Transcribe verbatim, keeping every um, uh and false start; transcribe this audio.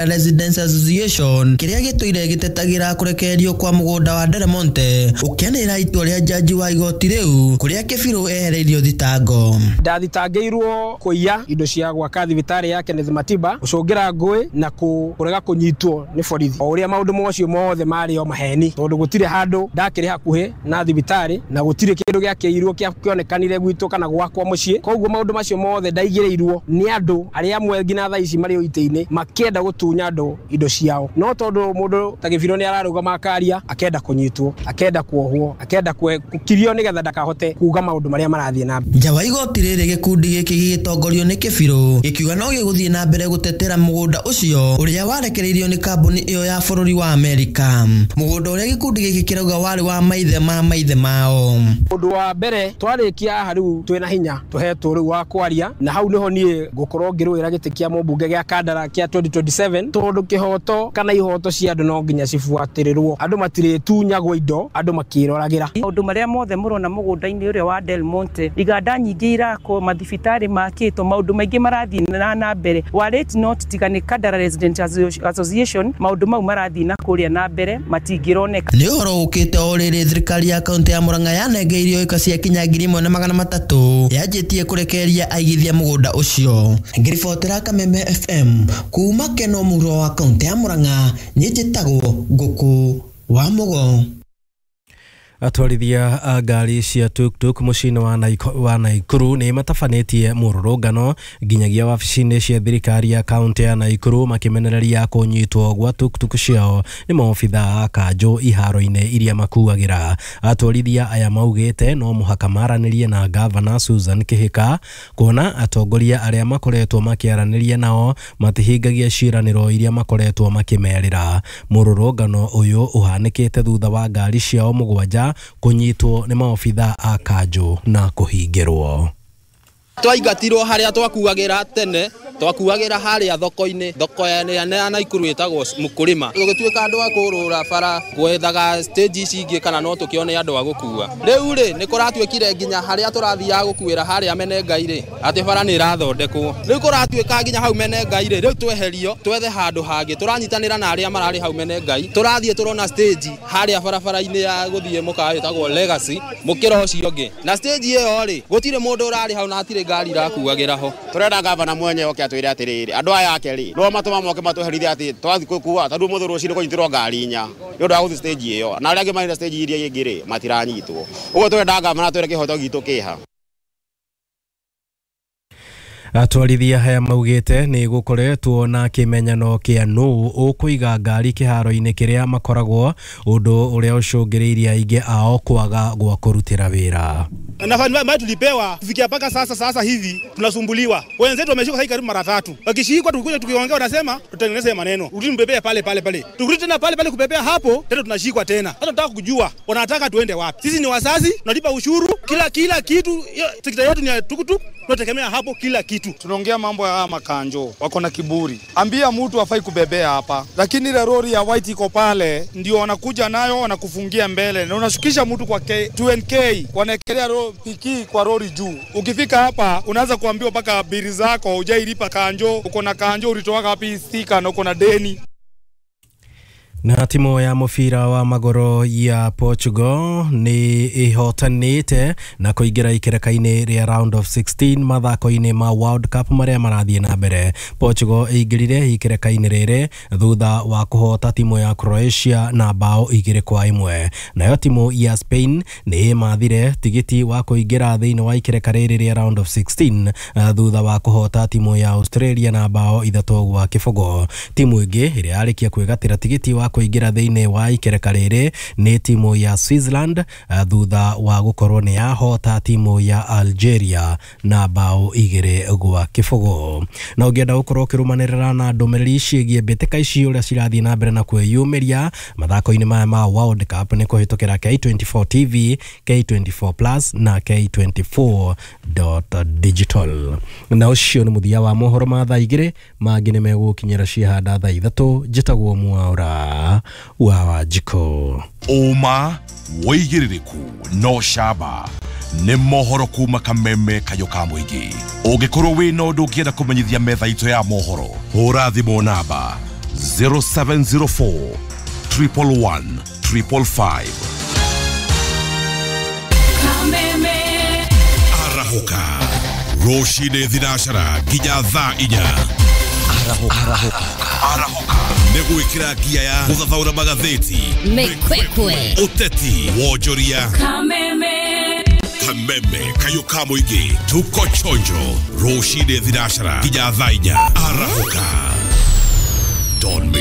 Residents Association kĩrĩa gĩtũire gĩtetagĩra kũrekererio kwa mũgũnda wa Del Monte ũkĩanĩrĩra itua rĩa jaji wa igoti rĩu kũrĩa Kĩbirũ ehereirio thitango. Ndathitangĩirwo kũiya indo cia gwaka thibitarĩ ya Kenneth Matiba, gũcũngĩra ngũĩ na kũrega kũnyitwo nĩ borithi. O ũrĩa maũndũ macio mothe marĩ o maheni, tondũ gũtirĩ handũ ndakĩrĩ hakuhĩ na thibitarĩ na gũtirĩ kĩndũ gĩakĩirwo kĩonekanire gwitũ kana gwakwa mũciĩ. Koguo maũndũ macio mothe ndaigĩrĩirwo nĩ andũ arĩa amwe nginya thaa ici marĩ o itĩ-inĩ makĩenda gũtunya andũ indo ciao. No tondũ mũndũ ta Gĩbirũ nĩ ararũgama akaria, akenda kũnyitwo, akenda kuohwo, akenda gũkirio nĩgetha ndakahote kuga maũndũ marĩa marathiĩ na mbere. Nja wa igoti rĩrĩ gĩkundi gĩkĩ gĩgĩtongorio nĩ Kĩbirũ gĩkiuga no gĩgũthiĩ na mbere gũtetera mũgũnda ũcio ũrĩa warekereirio nĩ kambuni ĩyo ya bũrũri wa Amerika. Mũgũnda ũrĩa gĩkundi gĩkĩ kĩrauga warĩ wa maithe ma maithe mao. Ũndũ wa mbere twarĩkia haha rĩu twĩna hinya tũhetwo rĩu wa kwaria, na hau nĩho niĩ ngũkorwo ngĩrũĩra gĩtĩ kĩa mũmbunge gĩa Kandara kĩa twenty twenty-seven, tondũ kĩhoto kana ihoto cia andũ no nginya cibuatĩrĩrwo. Andũ matirĩtunyagwo indo, andũ makĩroragĩra. Maũndũ marĩa mothe mũrona mũgũnda-inĩ ũrĩa wa Del Monte, iganda nyingĩ irakwo, mathibitarĩ makĩtwo, maũndũ maingĩ marathiĩ na na mbere. Warĩt not tiga nĩ Kandara Resident Association, maũndũ mau marathiĩ na kũrĩa na mbere matingĩroneka. Nĩ ũhoro ũkĩte o rĩrĩ thirikari ya kaunti ya Murang'a yanengeirio ĩka cia kinya ngiri ĩmwe na magana matatũ yanjĩtie kũrekereria aigithia mũgũnda ũcio. Ngĩribotera Kameme F M kuma Keno mũhuro wa kaunti ya Murang'a, niĩ njĩtagwo Ngũkũ wa Mũgo. Atwarithia a ngari cia tuk-tuk mũciĩ-inĩ wa Naikuru nĩ matabanĩtie mũrũrũngano nginyagia wabici-inĩ cia thirikari ya kaunti ya Naikuru makĩmenereria kũnyitwo gwa tuk-tuk ciao nĩ maobitha a kanjũ iharo-inĩ iria makuagĩra. Atwarithia aya maugĩte no mũhaka maranĩrie na gavana Susan Kihika kuona atongoria arĩa makoretwo makĩaranĩria nao matihingagia ciĩranĩro iria makoretwo makĩmerĩra. Mũrũrũngano ũyũ ũhanĩkĩte thutha wa ngari ciao mũgwanja kunyitwo nĩ maobitha a kanjũ na kũhingĩrwo. Twaingatirwo harĩa twakuagĩra tene, twakuagĩra harĩa thoko-inĩ, thoko ya Naikuru ĩtagwo Mũkũrĩma. Tũgĩtuĩka andũ a kũrũra bara gwethaga stage ici ingĩ kana no tũkĩone andũ a gũkua. Rĩu rĩ nĩ kũratuĩkire nginya harĩa tũrathiaga gũkuĩra harĩa Menengai rĩ, atĩ bara nĩ ĩrathondekwo. Rĩu kũratuĩka nginya hau Menengai rĩ, rĩu tweherio twethe handũ hangĩ, tũranyitanĩra na arĩa mararĩ hau Menengai, tũrathiĩ tũrona stage harĩa barabara-inĩ ya gũthiĩ mũkawa wĩtagwo Legacy mũkĩra ũcio ũngĩ. Na stage ĩyo rĩ, gũtirĩ mũndũ ũrarĩ hau na hatirĩ ngari irakuagĩra ho. Turenda gavana mwenye oke atwire atiriri andu aya ake ri no matuma moke matweherithie ati twathi gukua tondu muthu rucini kunyitirwo ngari inya ni undu wa guthi stage iyo na aria angi marĩ na stage iria ingi ri matiranyitwo. Uguo turenda gavana twire kihoto gitu kiha. Atwarithia haya maugĩte nĩ gũkoretwo na kĩmenyano kĩa nũ ũkũiga ngari kĩharo-inĩ kĩrĩa makoragwo, ũndũ ũrĩa ũcũngĩrĩirie aingĩ ao kwaga gwa kũrutĩra wĩra. Na mali tulipewa kufikia mpaka sasa sasa hivi tunasumbuliwa. Wenzetu wameshikwa sasa karibu mara tatu. Wakishikwa tukikuja tukiongea wanasema tutengeneze maneno. Rudi mbebea pale pale pale. Tukirudi tena pale pale kubebea hapo tena tunashikwa tena. Hata tunataka kujua wanataka tuende wapi. Sisi ni wazazi, tunalipa ushuru, kila kila kitu, sekta yetu ni tukutuk, tunategemea hapo kila kitu. Tunaongea mambo ya makanjo, wako na kiburi. Ambia mtu afai kubebea hapa. Lakini ile lori ya white iko pale ndio wanakuja nayo wanakufungia mbele na unashukisha mtu kwa K, two N K, wanaekelea piki kwa lori juu. Ukifika hapa unaanza kuambiwa mpaka bili zako hujailipa kanjo, uko na kanjo ulitoa wapi stika na uko na deni. Na timu ya mũbira wa magũrũ ya Portugal nĩ ĩhotanĩte na kũingĩra ikereka-inĩ rĩa round of sixteen mathako-inĩ ma World Cup marĩa marathiĩ na mbere. Portugal ĩingĩrire ikereka-inĩ rĩrĩ thutha wa kũhota timu ya Croatia na bao igĩrĩ kwa ĩmwe. Nayo timu ya Spain nĩ ĩmathire tigiti wa kũingĩra thĩinĩ wa ikereka rĩrĩ rĩa round of sixteen thutha wa kũhota timu ya Australia na bao ithatũ gwa kĩbũgũ. Timu ĩngĩ ĩrĩa yarĩkia kwĩgatĩra tigiti wa kũingĩra thĩinĩ wa ikereka rĩrĩ nĩ timu ya Switzerland thutha wa gũkorwo nĩ yahota timu ya Algeria na bao igĩrĩ gwa kĩbũgũ. Na ũngĩenda gũkorwo ũkĩrũmanĩrĩra na ndũmĩrĩri ciĩgiĩ mbĩtĩka ici ũrĩa cirathiĩ na mbere na kwĩyumĩria mathako-inĩ maya ma World Cup nĩ kũhĩtũkĩra K twenty-four T V, K twenty-four Plus na K twenty-four digital. Na ũcio nĩ mũthia wa mohoro ma thaa igĩrĩ, mangĩ nĩ megũkinyĩra ciahanda thaa ithatũ. Njĩtagwo Mwaura wa Wanjikũ. Ũma wĩigĩrĩrĩku no camba nĩ mohoro kuma Kameme Kayũ ka mũingĩ. Ũngĩkorwo wĩna ũndũ ũngĩenda kũmenyithia metha itũ ya mohoro, hũra thimũ namba zero seven zero four triple one triple five. Arahũka rũcinĩ thinacara nginya thaa inya. Arahũka Arahũka nĩ gwĩkĩra ngia ya gũthathaũra magathĩti, Mĩkwekwe, ũteti, wonjoria, Kameme, Kameme kayũ ka mũingĩ, tuko chonjo rũcinĩ thinacara nginya thaa inya. Arahũka. Don't miss.